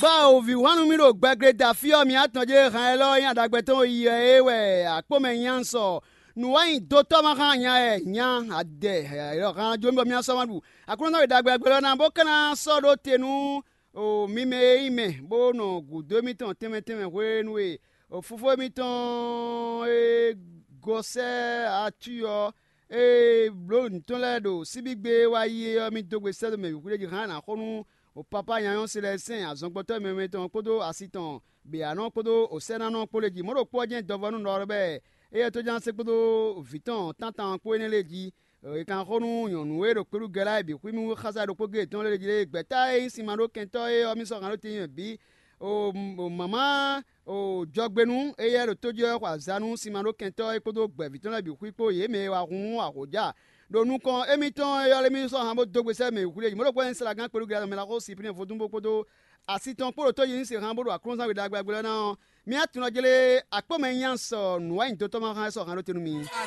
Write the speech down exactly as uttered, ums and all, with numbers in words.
Bɔ o vǐ hwan nú mì ɖo gbɛgble da fí ɔ́, mi atɔn jɛ han élɔ́ nyí aɖagbɛ tɔn yi wɛ é wɛ akpó mɛ nya sɔ nǔwanyi dotɔ́ ma xá nya ɛ nya adɛ élɔ́ han jó mì bɔ mì sɔ́ ma ɖu. Aklúnɔ e ɖagbe agbɛ́ ɔ́ ná bó ka ná sɔ́ ɖó te nú o mi mɛ e nyí mɛ bó nɔ gǔdo émítɔn tɛnmɛ tɛnmɛ hwenu e o fofó émítɔn e gɔ́ sɛ́ acu ɔ́ e blǒ nǔ tɔn lɛ́ɛ ɖo síbígbe wá yi é ɔ́, mì dó gbe sɛ́ dó mɛ bǐ xwíɖéji hán ná xo nú o papá nyanyɔ́ se lɛ́ɛ sɛn azɔngbɔtɔ́ mɛmɛ tɔn kpódó asi tɔn bǐ ǎ nɔ kpódó o sɛ́nánɔ kpó lě jí. Mɔ̌ ɖokpó ɔ́ jɛ́n dɔvɔ́nú nɔ ɔ́ bɛ́ éyɛ́ tó ján sé kpódó vǐ tɔn tántán kpó énɛ́ lɛ́ɛ jí. È kan xo nú nyɔ̌nu e ɖo kpéɖugɛ́ lɛ́ɛ bǐ xwímú xása ɖokpó géé tɔn lɛ́ɛ jí lé gbɛ̌ta e nyí sinma ɖó kɛntɔ́ é ɔ́, mì sɔ́ han ɖó tɛ́ntin bǐ. O mama o jɔgbénu éyɛ́ ɖo tó jí ɔ́ xɔ azǎn nú sinma ɖó kɛntɔ́ é kpódó gbɛ̌ví tɔn lɛ́ɛ bǐ xwí kpó yě mɛ e wa hun ahǒjá ɖo nukɔn émítɔn é ɔ́ lé mì sɔ́ han bó dó gbe sɛ́ mɛ wǔxwíɖéji. Mɔ̌ ɖokpó wɛ nyí Salagán kpéɖugɛ́ mɛ la xó Siplín vodún bó kpódó asi tɔn kpó ɖo tó yi ní se han bó ɖo aklúnɔzán we ɖagbe ɔ́ ná ɔ́, mì atún ɔ́ jlé akpɔ́mɛ nyí sɔ nǔwanyi dotɔ́ ma hán é sɔ́ han ɖó te nú mi.